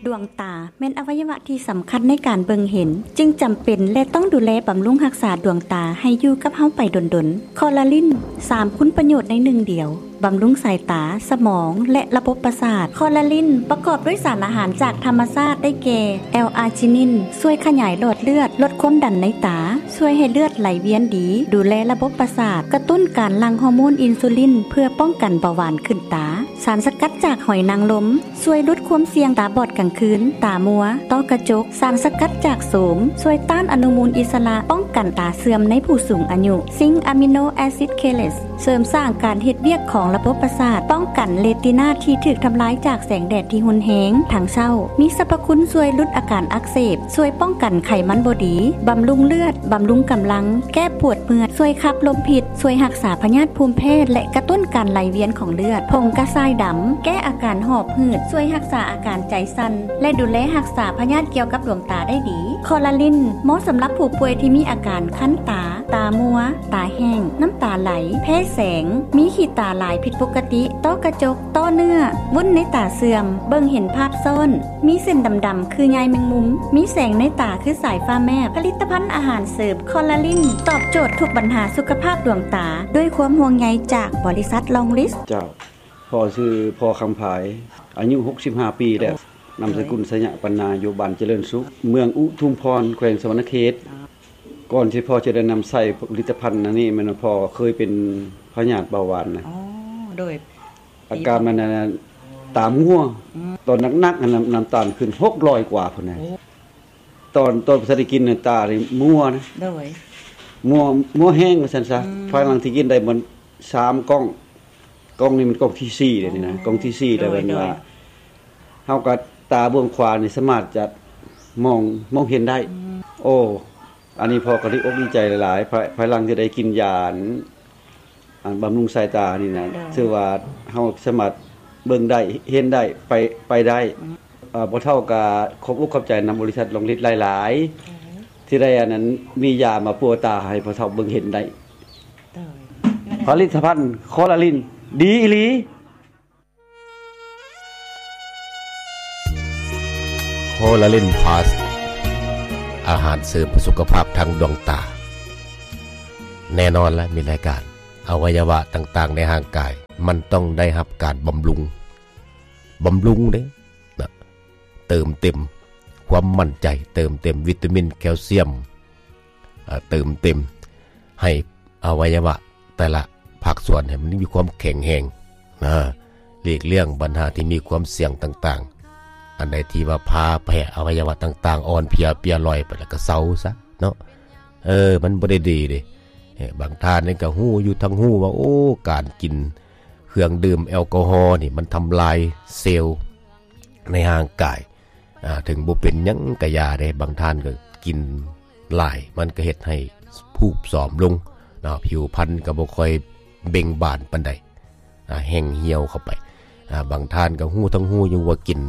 ດວງຕາແມ່ນອະໄວຍະວະທີ່ສຳຄັນໃນການເບິ່ງເຫັນ, ຈຶ່ງຈຳເປັນ ແລະ ຕ້ອງດູແລບຳລຸງຮັກສາດວງຕາໃຫ້ຢູ່ກັບເຮົາໄປດົນໆ. ຄໍລາລິນ ສາມຄຸນປະໂຫຍດໃນໜຶ່ງດຽວ, ບຳລຸງສາຍຕາ, ສະໝອງ ແລະ ລະບົບປະສາດ. ຄໍລາລິນປະກອບດ້ວຍສານອາຫານຈາກທຳມະຊາດ ໄດ້ແກ່ ແອລອາຈິນິນ ຊ່ວຍຂະຫຍາຍຫຼອດເລືອດ, ລົດຄວາມດັນໃນຕາ, ຊ່ວຍໃຫ້ເລືອດໄຫຼວຽນດີ, ດູແລລະບົບປະສາດ, ກະຕຸ້ນການຫຼັ່ງຮໍໂມນອິນຊູລິນ ເພື່ອປ້ອງກັນເບົາຫວານຂຶ້ນຕາ. ສານສະກັດຈາກຫອຍນາງລົມ ຊ່ວຍຫຼຸດຄວາມສ່ຽງຕາບອດກາງຄືນ, ຕາມົວ, ຕ້ອກະຈົກ. ສານສະກັດຈາກໂສມ ຊ່ວຍຕ້ານອະນຸມູນອິດສະຫຼະ, ປ້ອງກັນຕາເສື່ອມໃນຜູ້ສູງອາຍຸ. ຊິງອາມິໂນແອຊິດເຄເລດ ເສີມສ້າງການເຮັດວຽກຂອງລະບົບປະສາດ, ປ້ອງກັນເຣຕີນາທີ່ຖືກທຳລາຍຈາກແສງແດດທີ່ຮຸນແຮງທັງເຊົ້າ. ມີສັບພະຄຸນຊ່ວຍຫຼຸດອາການອັກເສບ, ຊ່ວຍປ້ອງກັນໄຂມັນບໍ່ດີ, ບຳລຸງເລືອດ, ບຳລຸງກຳລັງ, ແກ້ປວດເມື່ອຍ, ຊ່ວຍຂັບລົມພິດ, ຊ່ວຍຮັກສາພະຍາດພູມແພ້ ແລະ ກະຕຸ້ນການໄຫຼວຽນຂອງເລືອດ. ຜົງກະຊາຍດຳ ແກ້ອາການຫອບ ຫືດ, ຊ່ວຍຮັກສາອາການໃຈສັ່ນ ແລະ ດູແລຮັກສາພະຍາດກ່ຽວກັບດວງຕາໄດ້ດີ. ຄໍລາລິນ ເໝາະສຳລັບຜູ້ປ່ວຍທີ່ມີອາການຄັນຕາ, ຕາມົວ, ຕາແຫ້ງ, ນ້ຳຕາໄຫຼ, ແພ້ແສງ, ມີຂີ້ຕາຫຼາຍຜິດປົກກະຕິ, ຕ້ອກະຈົກ, ຕ້ອເນື້ອ, ວຸ້ນໃນຕາເສື່ອມ, ເບິ່ງເຫັນພາບຊ້ອນ, ມີເສັ້ນດຳໆຄືໃຍແມງມຸມ, ມີແສງໃນຕາຄືສາຍຟ້າແມບ. ຜະລິດຕະພັນອາຫານເສີມຄໍລາລິນ ຕອບໂຈດທຸກບັນຫາສຸຂະພາບດວງຕາ ດ້ວຍຄວາມຫ່ວງໃຍຈາກບໍລິສັດລອງລິສ. ເຈົ້າ. ພໍ່ຊື່ພໍ່ຄຳພາຍ ອາຍຸຫົກສິບຫ້າປີແລ້ວ, ນາມສະກຸນ ໄຊຍະປັນນາ ຢູ່ບ້ານຈະເລີນສຸກ ເມືອງອຸທຸມພອນ ແຂວງສະຫວັນນະເຂດ. ກ່ອນທີ່ພໍ່ຈະໄດ້ນຳໃຊ້ຜະລິດຕະພັນອັນນີ້ ແມ່ນວ່າພໍ່ເຄີຍເປັນພະຍາດເບົາຫວານນະ. ອໍ ໂດຍ. ອາການມັນນັ້ນ ຕາມົວ. ອືມ. ຕອນໜັກໆ ນັ້ນ ນ້ຳ ນ້ຳຕານຂຶ້ນຫົກຮ້ອຍກວ່າພຸ້ນນະ. ໂອ້. ຕອນ ຕອນບໍ່ທັນໄດ້ກິນນັ້ນ ຕານີ້ມົວນະ. ໂດຍ. ມົວ ມົວແຮງວ່າຊັ້ນຊະ. ອືມ. ພາຍຫຼັງທີ່ກິນໄດ້ມັນສາມກ່ອງ, ກ່ອງນີ້ມັນກ່ອງທີສີ່ແລ້ວນີ້ນະ, ອໍ ກ່ອງທີສີ່ແລ້ວ. ໂດຍ ແມ່ນວ່າ ໂດຍ ເຮົາກໍຕາເບື້ອງຂວານີ້ສາມາດຈະມອງ ມອງເຫັນໄດ້. ອືມ. ໂອ້ ອັນນີ້ພໍ່ກໍດີອົກດີໃຈຫຼາຍໆ ພາຍ ພາຍຫຼັງທີ່ໄດ້ກິນຢາອັນ ອັນບຳລຸງສາຍຕານີ້ນະ. ໂດຍ. ຖືວ່າເຮົາສາມາດເບິ່ງໄດ້ ເຫັນໄດ້ ໄປ ໄປໄດ້. ອືມ. ເອີ ພໍ່ເຖົ້າກໍຂອບອົກຂອບໃຈນຳບໍລິສັດລອງລິດຫຼາຍໆ. ໂດຍ. ທີ່ໄດ້ອັນນັ້ນ ມີຢາມາປົວຕາໃຫ້ພໍ່ເຖົ້າເບິ່ງເຫັນໄດ້. ໂດຍ. ຜະລິດຕະພັນຄໍລາລິນ ດີອີ່ຫຼີ. ໂຄລາລິນພລັສ ອາຫານເສີມເພື່ອສຸຂະພາບທາງດວງຕາ. ແນ່ນອນລະ ມີລາຍການ ອະໄວຍະວະຕ່າງໆໃນຮ່າງກາຍ ມັນຕ້ອງໄດ້ຮັບການບຳລຸງ, ບຳລຸງເດ້ນະ, ເຕີມເຕັມຄວາມໝັ້ນໃຈ, ເຕີມເຕັມວິຕາມິນ, ແຄວຊຽມ, ເຕີມເຕັມໃຫ້ ອະໄວຍະວະແຕ່ລະພາກສ່ວນໃຫ້ມັນມີຄວາມແຂງແຮງນະ, ຫຼີກລ່ຽງບັນຫາທີ່ມີຄວາມສ່ຽງຕ່າງໆ. ອັນໃດທີ່ວ່າພາແພ້ອະໄວຍະວະຕ່າງໆ ອ່ອນເພຍເປຍລອຍໄປ ແລ້ວກໍເຊົາຊະເນາະ. ເອີ ມັນບໍ່ໄດ້ດີເດ້. ເອີ ບາງທ່ານນີ້ກໍຮູ້ຢູ່ທັງຮູ້ວ່າ ໂອ້ ການກິນເຄື່ອງດື່ມແອລກໍຮໍນີ້ ມັນທຳລາຍເຊວໃນຮ່າງກາຍ. ອາ ເຖິງບໍ່ເປັນຫຍັງກະຢ່າເດ້, ບາງທ່ານກໍກິນຫຼາຍ ມັນກໍເຮັດໃຫ້ຜູບສອມລົງເນາະ, ຜິວພັນກໍບໍ່ຄ່ອຍເບັ່ງບານປານໃດ, ອາ ແຫ້ງຫ່ຽວເຂົ້າໄປ. ອາ ບາງທ່ານກໍຮູ້ທັງຮູ້ຢູ່ວ່າກິນ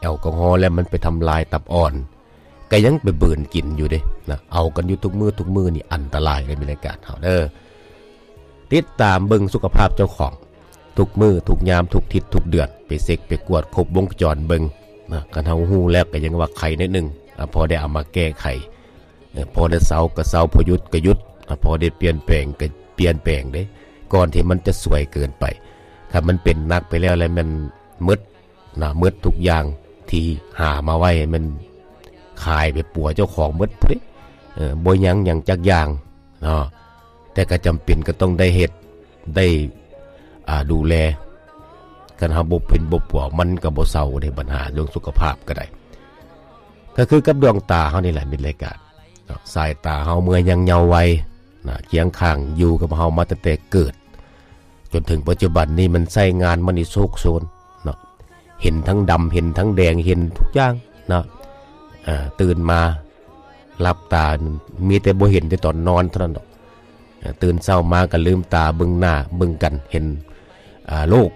ແອລກໍຮໍແລ້ວມັນໄປທຳລາຍຕັບອ່ອນ, ກໍຍັງໄປບືນກິນຢູ່ເດ້ນະ. ເອົາກັນຢູ່ທຸກມື້ ທຸກມື້ນີ້ອັນຕະລາຍເດ້ ມີລາຍການເຮົາເດີ. ຕິດຕາມເບິ່ງສຸຂະພາບເຈົ້າຂອງ ທຸກມື້ທຸກຍາມ ທຸກທິດທຸກເດືອນ, ໄປເຊັກໄປກວດຄົບວົງຈອນເບິ່ງນະ. ຄັນເຮົາຮູ້ແລ້ວກໍຍັງວ່າໄຄໜ້ອຍໜຶ່ງ, ອາ ພໍໄດ້ເອົາມາແກ້ໄຂ, ເອີ ພໍໄດ້ເຊົາກໍເຊົາ, ພໍຢຸດກໍຢຸດ, ອາ ພໍໄດ້ປ່ຽນແປງກໍປ່ຽນແປງເດ້, ກ່ອນທີ່ມັນຈະສວຍເກີນໄປ. ຖ້າມັນເປັນໜັກໄປແລ້ວ ແລ້ວແມ່ນໝົດນະ, ໝົດທຸກຢ່າງທີ່ຫາມາໄວ້ ແມ່ນຂາຍໄປປົວເຈົ້າຂອງໝົດພຸ້ນເດ້. ເອີ ບໍ່ຍັງຫຍັງຈັກຢ່າງ ເນາະ, ແຕ່ກໍຈຳເປັນກໍຕ້ອງໄດ້ເຮັດ ໄດ້ ອາ ດູແລ. ຄັນເຮົາບໍ່ເປັນບໍ່ປົວ ມັນກໍບໍ່ເຊົາເດ້, ບັນຫາເລື່ອງສຸຂະພາບກໍໄດ້. ກໍຄືກັບດວງຕາເຮົານີ້ແຫຼະ ມິດລາຍການເນາະ, ສາຍຕາເຮົາເມື່ອຍັງເຍົາໄວນະ, ຄຽງຂ້າງຢູ່ກັບເຮົາມາຕັ້ງແຕ່ເກີດ ຈົນເຖິງປັດຈຸບັນນີ້ ມັນໃຊ້ງານມັນນີ້ໂຊກໂຊນເນາະ, ເຫັນທັງດຳ ເຫັນທັງແດງ ເຫັນທຸກຢ່າງເນາະ. ເອີ ຕື່ນມາຫຼັບຕາ ມີແຕ່ບໍ່ເຫັນແຕ່ຕອນນອນເທົ່ານັ້ນດອກ. ເອີ ຕື່ນເຊົ້າມາກໍລືມຕາເບິ່ງໜ້າເບິ່ງກັນ ເຫັນ ອາ ໂລກ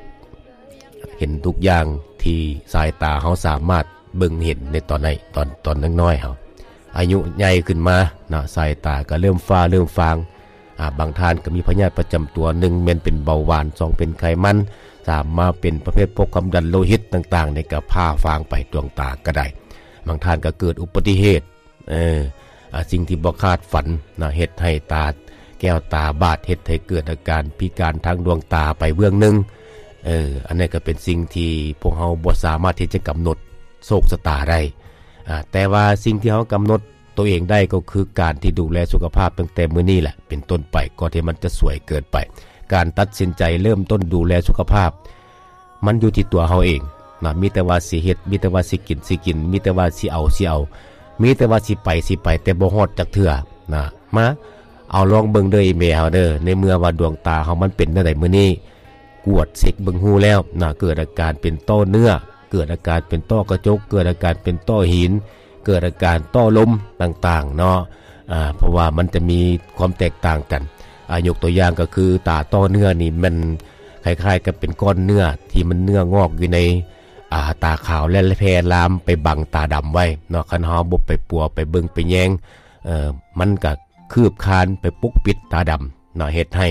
ເຫັນທຸກຢ່າງທີ່ສາຍຕາເຮົາສາມາດເບິ່ງເຫັນໃນຕອນໃນ ຕອນ ຕອນນ້ອຍໆເຮົາ. ອາຍຸໃຫຍ່ຂຶ້ນມາເນາະ ສາຍຕາກໍເລີ່ມຟ້າເລີ່ມຟາງ. ອາ ບາງທ່ານກໍມີພະຍາດປະຈຳຕົວ, ໜຶ່ງແມ່ນເປັນເບົາຫວານ, ສອງເປັນໄຂມັນ, ສາມມາເປັນປະເພດພວກຄວາມດັນໂລຫິດຕ່າງໆ ນີ້ກໍພາຟາງໄປດວງຕາກໍໄດ້. ບາງທ່ານກໍເກີດອຸບັດຕິເຫດ ເອີ ອາ ສິ່ງທີ່ບໍ່ຄາດຝັນນະ ເຮັດໃຫ້ຕາແກ້ວຕາບາດ ເຮັດໃຫ້ເກີດອາການພິການທາງດວງຕາໄປເບື້ອງໜຶ່ງ. ເອີ ອັນນັ້ນກໍເປັນສິ່ງທີ່ພວກເຮົາບໍ່ສາມາດທີ່ຈະກຳນົດໂຊກຊະຕາໄດ້ ອາ ແຕ່ວ່າສິ່ງທີ່ເຮົາກຳນົດ ໂຕເອງໄດ້ກໍຄືການທີ່ດູແລສຸຂະພາບຕັ້ງແຕ່ມື້ນີ້ແຫຼະເປັນຕົ້ນໄປ ກ່ອນທີ່ມັນຈະສວຍເກີນໄປ. ການຕັດສິນໃຈເລີ່ມຕົ້ນດູແລສຸຂະພາບ ມັນຢູ່ທີ່ຕົວເຮົາເອງນະ ມີແຕ່ວ່າຊິເຮັດ ມີແຕ່ວ່າຊິກິນ ຊິກິນ ມີແຕ່ວ່າຊິເອົາ ຊິເອົາ ມີແຕ່ວ່າຊິໄປ ຊິໄປ ແຕ່ບໍ່ຮອດຈັກເທື່ອນະ. ມາເອົາລອງເບິ່ງເດີອີ່ແມ່ເຮົາເດີ ໃນເມື່ອວ່າດວງຕາເຮົາມັນເປັນແນວໃດມື້ນີ້ ກວດເຊັກເບິ່ງຮູ້ແລ້ວນະ ເກີດອາການເປັນຕໍ່ເນື້ອ ເກີດອາການເປັນຕໍ່ກະຈົກ ເກີດອາການເປັນຕໍ່ຫີນ ເກີດອາການຕໍ່ລົມຕ່າງໆເນາະ. ອາ ເພາະວ່າມັນຈະມີຄວາມແຕກຕ່າງກັນ ອາ ຍົກຕົວຢ່າງກໍຄືຕາຕໍ່ເນື້ອນີ້ແມ່ນຄ້າຍໆກັບເປັນກ້ອນເນື້ອທີ່ມັນເນື້ອງອກຢູ່ໃນ ອາ ຕາຂາວ ແລະ ແຜ່ລາມໄປບັງຕາດຳໄວ້ເນາະ. ຄັນເຮົາບໍ່ໄປປົວ ໄປເບິ່ງ ໄປແຍງ ເອີ ມັນກະ ຄືບຄານໄປປົກປິດຕາດຳເນາະ ເຮັດໃຫ້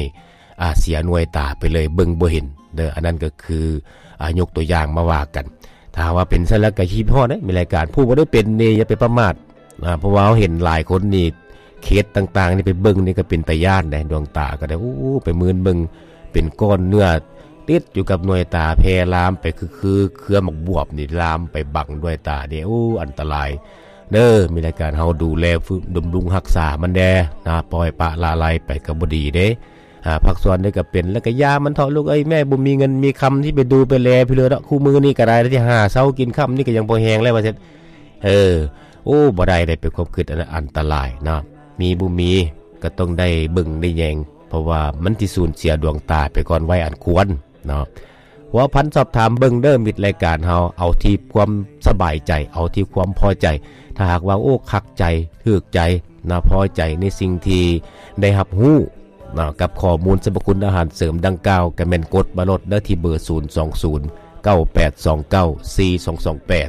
ອາ ເສຍໜ່ວຍຕາໄປເລີຍ ເບິ່ງບໍ່ເຫັນເດີ. ອັນນັ້ນກໍຄື ອາ ຍົກຕົວຢ່າງມາວ່າກັນ. ຖ້າຫາກວ່າເປັນຊັ້ນແລ້ວກໍຄິດຮອດເດ້ ມີລາຍການ ຜູ້ບໍ່ໄດ້ເປັນນີ້ຢ່າໄປປະໝາດ ອາ ເພາະວ່າເຮົາເຫັນຫຼາຍຄົນນີ້ ເຄສຕ່າງໆນີ້ ໄປເບິ່ງນີ້ກໍເປັນຕາຢ້ານເດ້ ດວງຕາກໍໄດ້ ໂອ້ ໄປມື່ນເບິ່ງ ເປັນກ້ອນເນື້ອຕິດຢູ່ກັບໜ່ວຍຕາ ແຜ່ລາມໄປ ຄື ຄືເຄືອໝາກບວບນີ້ ລາມໄປບັງໜ່ວຍຕານີ້ ໂອ້ ອັນຕະລາຍ ເດີ ມີລາຍການເຮົາດູແລບຳລຸງຮັກສາມັນແດ່ນະ ປ່ອຍປະລະໄລໄປກໍບໍ່ດີເດ້. ອາ ພາກສ່ວນໃດກໍເປັນ ແລ້ວກໍຢ່າມັນເຖາະລູກເອີຍ ແມ່ບໍ່ມີເງິນມີຄຳທີ່ໄປດູໄປແລຜູ້ເລີດອກ ຄູ່ມື້ນີ້ກໍໄດ້ ທີ່ຫາເຊົ້າກິນຄ່ຳນີ້ກໍຍັງພໍແຮງແລ້ວວ່າຊັ້ນ. ເອີ ໂອ້ ບໍ່ໄດ້ ໄດ້ເປັນຄວາມຄິດອັນ ອັນຕະລາຍເນາະ ມີບໍ່ມີກໍຕ້ອງໄດ້ເບິ່ງໄດ້ແຍງ ເພາະວ່າມັນຊິສູນເສຍດວງຕາໄປກ່ອນໄວອັນຄວນ ເນາະ. ພົວພັນສອບຖາມເບິ່ງເດີ ມິດລາຍການເຮົາ ເອົາທີ່ຄວາມສະບາຍໃຈ ເອົາທີ່ຄວາມພໍໃຈ. ຖ້າຫາກວ່າ ໂອ້ ຄັກໃຈ ຖືກໃຈນະ ພໍໃຈໃນສິ່ງທີ່ໄດ້ຮັບຮູ້ເນາະ ກັບຂໍ້ມູນສັບພະຄຸນອາຫານເສີມດັ່ງກ່າວ ກໍແມ່ນກົດມາໂລດເດີ ທີ່ເບີ ສູນສອງສູນ ເກົ້າແປດສອງເກົ້າ ສີ່ສອງສອງແປດ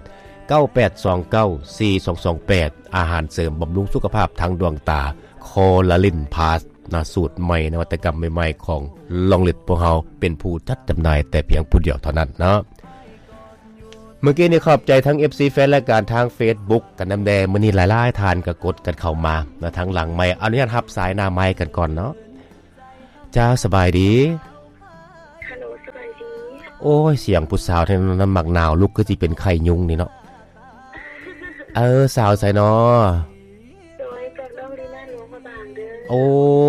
ເກົ້າແປດສອງເກົ້າ ສີ່ສອງສອງແປດ ອາຫານເສີມບຳລຸງສຸຂະພາບທາງດວງຕາ ຄໍລາລິນພລັສ ນະ ສູດໃໝ່ ນະວັດຕະກຳໃໝ່ໆ ຂອງລອງລິດ ພວກເຮົາເປັນຜູ້ຈັດຈຳໜ່າຍແຕ່ພຽງຜູ້ດຽວເທົ່ານັ້ນເນາະ. ເມື່ອກີ້ນີ້ຂອບໃຈທັງ ເອັຟຊີ ແຟນລາຍການທາງເຟສບຸກກັນນຳແດ່ ມື້ນີ້ຫຼາຍໆທ່ານກໍກົດກັນເຂົ້າມານະ ທາງຫຼັງໄມ ອະນຸຍາດຮັບສາຍໜ້າໄມກັນກ່ອນເນາະ. ເຈົ້າ ສະບາຍດີ. ຮັລໂຫຼ ສະບາຍດີ. ໂອ້ຍ ສຽງຜູ້ສາວແທ້ນຳໝາກໜາວ ລຸກຄືຊິເປັນໄຂ້ຍຸງນີ້ເນາະ. ເອີ ສາວໃສນໍ? ໂດຍ ຈາກນ້ອງລີນາຫຼວງພະບາງເດີ. ໂອ້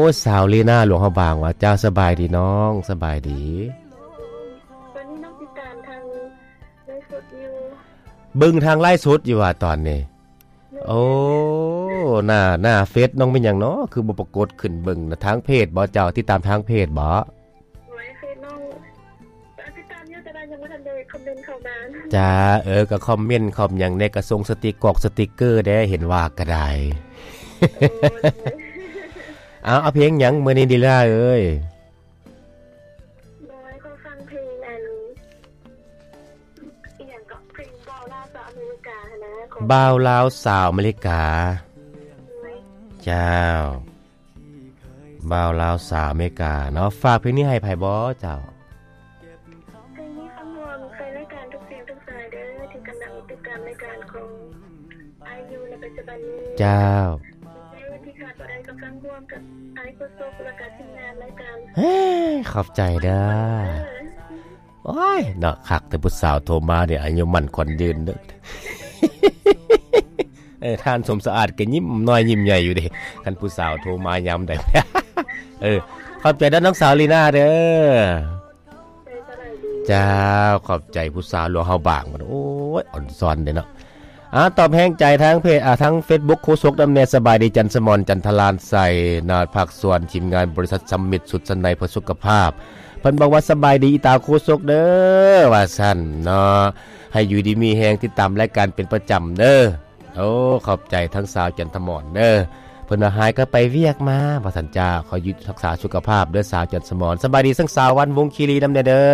ຍ ສາວລີນາຫຼວງພະບາງຫວາ? ເຈົ້າ ສະບາຍດີນ້ອງ ສະບາຍດີ. ຕອນນີ້ນ້ອງຕິດຕາມທາງໄລຟ໌ສົດຢູ່. ເບິ່ງທາງໄລຟ໌ສົດຢູ່ຫວາຕອນນີ້? ໂອ້ ໜ້າ ໜ້າເຟສນ້ອງແມ່ນຫຍັງນໍ ຄືບໍ່ປາກົດຂຶ້ນເບິ່ງນະ? ທາງເພຈບໍ? ເຈົ້າຕິດຕາມທາງເພຈບໍ? ໂອ້ຍ ເຟສນ້ອງ ອ່າ ຕິດຕາມຢູ່ ແຕ່ວ່າຍັງບໍ່ທັນໄດ້ຄອມເມັນເຂົ້າມາ. ຈ້າ ເອີ ກໍຄອມເມັນຄອມຫຍັງແດ່ ກໍສົ່ງສະຕິກກອກສະຕິກເກີແດ່ ເຫັນວ່າກໍໄດ້. ໂອ້ຍ ເອົາ ເອົາເພງຫຍັງມື້ນີ້ດີລາເອີຍ? ໂດຍ ຂໍຟັງເພງອັນ ອີ່ຫຍັງເກາະ ເພງບ່າວລາວສາວອາເມລິກາຫັ້ນນະ ຂອງ ບ່າວລາວສາວອາເມລິກາ. ໂດຍ ເຈົ້າ ບ່າວລາວສາວອາເມລິກາເນາະ. ຝາກເພງນີ້ໃຫ້ໃຜບໍເຈົ້າ? ເພງນີ້ຄຳຮວມໃສ່ລາຍການທຸກສຽງທຸກສາຍເດີ ທີ່ກຳລັງຕິດຕາມລາຍການຂອງອ້າຍຢູ່ໃນປັດຈຸບັນນີ້. ເຈົ້າ ເພງທີ່ຂາດບໍ່ໄດ້ກໍຟັງຮ່ວມກັບອ້າຍໂຄສົກ ແລ້ວກະທີມງານລາຍການ. ເອີ ຂອບໃຈເດີ. ເອີ ໂອ້ຍ ເນາະ ຄັກແຕ່ຜູ້ສາວໂທມານີ້ ອາຍຸໝັ້ນຂວັນຍືນເດີ. ເອີ ທ່ານສົມສະອາດກໍຍິ້ມນ້ອຍຍິ້ມໃຫຍ່ຢູ່ເດ ຄັນຜູ້ສາວໂທມາຍາມໃດ. ເອີ ຂອບໃຈເດີນ້ອງສາວລີນາເດີ. ເຈົ້າ ຂອບໃຈຜູ້ສາວຫຼວງເຮົາບາງ. ໂອ້ຍ ອ່ອນຊອນເດ້ເນາະ. ອາ ຕອບແຮງໃຈທາງເພຈ ອາ ທາງເຟສບຸກໂຄສົກນຳແດ່. ສະບາຍດີ ຈັນສະໝອນ ຈັນທະລານໄຊ ນະ ພາກສ່ວນທີມງານບໍລິສັດສຳມິດສຸດສັນໃນເພື່ອສຸຂະພາບ. ເພິ່ນບອກວ່າ ສະບາຍດີອີຕາໂຄສົກເດີ ວ່າຊັ້ນເນາະ. ໃຫ້ຢູ່ດີມີແຮງ ຕິດຕາມລາຍການເປັນປະຈຳເດີ. ໂອ້ ຂອບໃຈທັງສາວຈັນທະໝອນເດີ. ເພິ່ນວ່າ ຫາຍກໍໄປວຽກມາ ວ່າຊັ້ນ. ຈ້າ ຂໍຢູ່ຮັກສາສຸຂະພາບເດີສາວຈັນສະໝອນ. ສະບາຍດີທັງສາວວັນວົງຄີລີນຳແດ່ເດີ.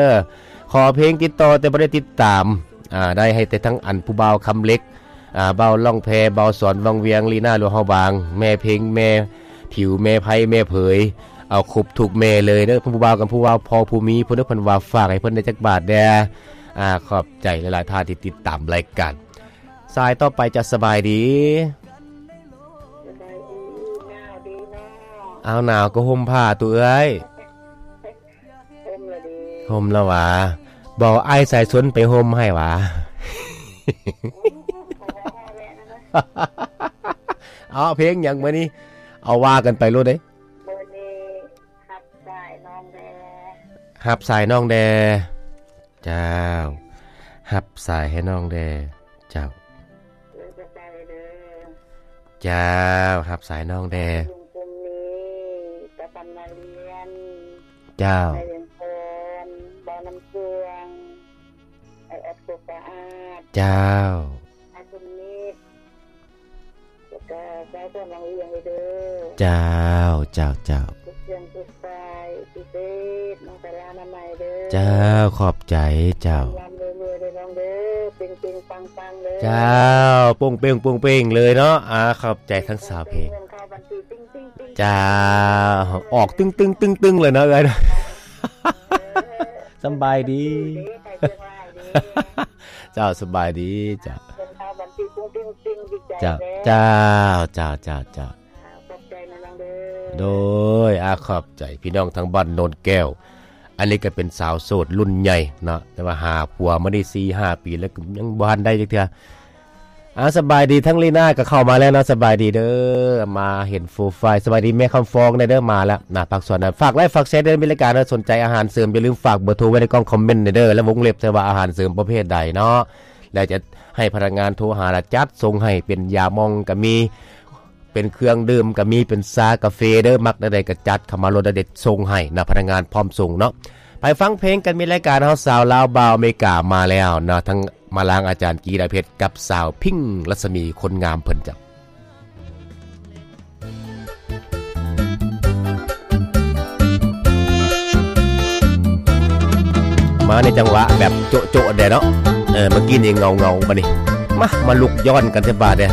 ຂໍເພງຕິດຕໍ່ແຕ່ບໍ່ໄດ້ຕິດຕາມ ອາ ໄດ້ໃຫ້ແຕ່ທັງອັນຜູ້ບ່າວຄຳເຫຼັກ ອາ ບ່າວລ່ອງແພ ບ່າວສອນວັງວຽງ ລີນາຫຼວງເຮົາບາງ ແມ່ເພັງ ແມ່ຜິວ ແມ່ໄພ ແມ່ເຜີຍ ເອົາຄົບທຸກແມ່ເລີຍເດີ ຜູ້ບ່າວກັບຜູ້ບ່າວ ພໍ່ຜູ້ມີ ເພິ່ນເດີ ເພິ່ນວ່າຝາກໃຫ້ເພິ່ນໄດ້ຈັກບາດແດ່. ອາ ຂອບໃຈຫຼາຍໆ ທ່ານທີ່ຕິດຕາມລາຍການ. ສາຍຕໍ່ໄປ ຈະສະບາຍດີ? ສະບາຍດີ ໜາວດີເນາະ. ອ້າວ ໜາວກໍຫົ່ມຜ້າຕຸເອື້ອຍ. ຫົ່ມລະດີ ຫົ່ມລະຫວາ? ບໍ່ ອ້າຍສາຍຊົນໄປຫົ່ມໃຫ້ຫວາ? ເອົາ ເພງຫຍັງມື້ນີ້? ເອົາ ວ່າກັນໄປໂລດເດ້. ມື້ນີ້ຮັບສາຍນ້ອງແດ່. ຮັບສາຍນ້ອງແດ່. ເຈົ້າ ຮັບສາຍໃຫ້ນ້ອງແດ່. ເຈົ້າ ເອີ ຂອບໃຈເດີ. ເຈົ້າ ຮັບສາຍນ້ອງແດ່. ລຸງກຸ່ມນີ້ ຕາຄຳນາລຽນ. ເຈົ້າ ໄດ້ວຽງພອນ ບ່າວນ້ຳເຄື່ອງ ໄອແອັດໂຄກະອາດ. ເຈົ້າ ອາຄຸນນິດ ແລ້ວກະຊາວສວນວັງວຽງເດີ. ເຈົ້າ ເຈົ້າ ເຈົ້າ ທຸກເຄື່ອງທຸກສາຍ ພິເສດ ນ້ອງສາລານາໄມເດີ. ເຈົ້າ ຂອບໃຈເຈົ້າ. ລ່ຳໆ ລວຍໆ ເດີນ້ອງເດີ ເປັງໆ ປັງໆ ເດີ. ເຈົ້າ ໂປ່ງເປັງ ໂປ່ງເປັງເລີຍເນາະ. ອາ ຂອບໃຈທັງສາວເພງ. ເງິນເຂົ້າບັນຊີ ຕຶ້ງໆໆໆ. ເຈົ້າ ອອກຕຶ້ງໆໆໆ ເລີຍເນາະເອື້ອຍ. ເອີ ສຳບາຍດີ. ເຈົ້າ ສະບາຍດີເຈົ້າ. ເງິນເຂົ້າບັນຊີ ຕຶ້ງໆໆ ດີໃຈແລ້ວ. ເຈົ້າ ເຈົ້າ ເຈົ້າ ເຈົ້າ ເຈົ້າ. ຂອບໃຈນະນ້ອງເດີ. ໂດຍ ອາ ຂອບໃຈພີ່ນ້ອງທາງບ້ານໂນນແກ້ວ. ອັນນີ້ກໍເປັນສາວໂສດລຸ້ນໃຫຍ່ເນາະ ແຕ່ວ່າຫາຜົວມາໄດ້ສີ່ຫ້າປີແລ້ວ ກໍຍັງບໍ່ທັນໄດ້ຈັກເທື່ອ. ອາ ສະບາຍດີ ທັງລີນາກໍເຂົ້າມາແລ້ວເນາະ. ສະບາຍດີເດີ ມາເຫັນໂປຣໄຟ. ສະບາຍດີແມ່ຄຳຟອງແດ່ເດີ ມາແລ້ວນະ. ຝາກສ່ວນນະ ຝາກໄລຟ໌ ຝາກແຊເດີ ມີລາຍການເນາະ. ສົນໃຈອາຫານເສີມ ຢ່າລືມຝາກເບີໂທໄວ້ໃນກ່ອງຄອມເມັນແດ່ເດີ ແລະ ວົງເລັບໃສ່ວ່າອາຫານເສີມປະເພດໃດເນາະ ແລ້ວຈະໃຫ້ພະນັກງານໂທຫາ ແລ້ວຈັດສົ່ງໃຫ້. ເປັນຢາໝອງກໍມີ ເປັນເຄື່ອງດື່ມກໍມີ ເປັນຊາກາເຟເດີ ມັກແນວໃດກໍຈັດເຂົ້າມາໂລດ ແລ້ວເດັດສົ່ງໃຫ້ນະ ພະນັກງານພ້ອມສົ່ງເນາະ. ໄປຟັງເພງກັນ ມີລາຍການເຮົາ ສາວລາວບ່າວອາເມລິກາມາແລ້ວເນາະ ທັງມາລາງອາຈານກີລາເພັດ ກັບສາວພິງລັດສະໝີ ຄົນງາມເພິ່ນເຈົ້າ. ມາໃນຈັງຫວະແບບໂຈະໆ ແດ່ເນາະ. ເອີ ເມື່ອກີ້ນີ້ເງົາໆ ບາດນີ້ ມາ ມາລຸກຍ້ອນກັນແຕ່ບາດເດ້.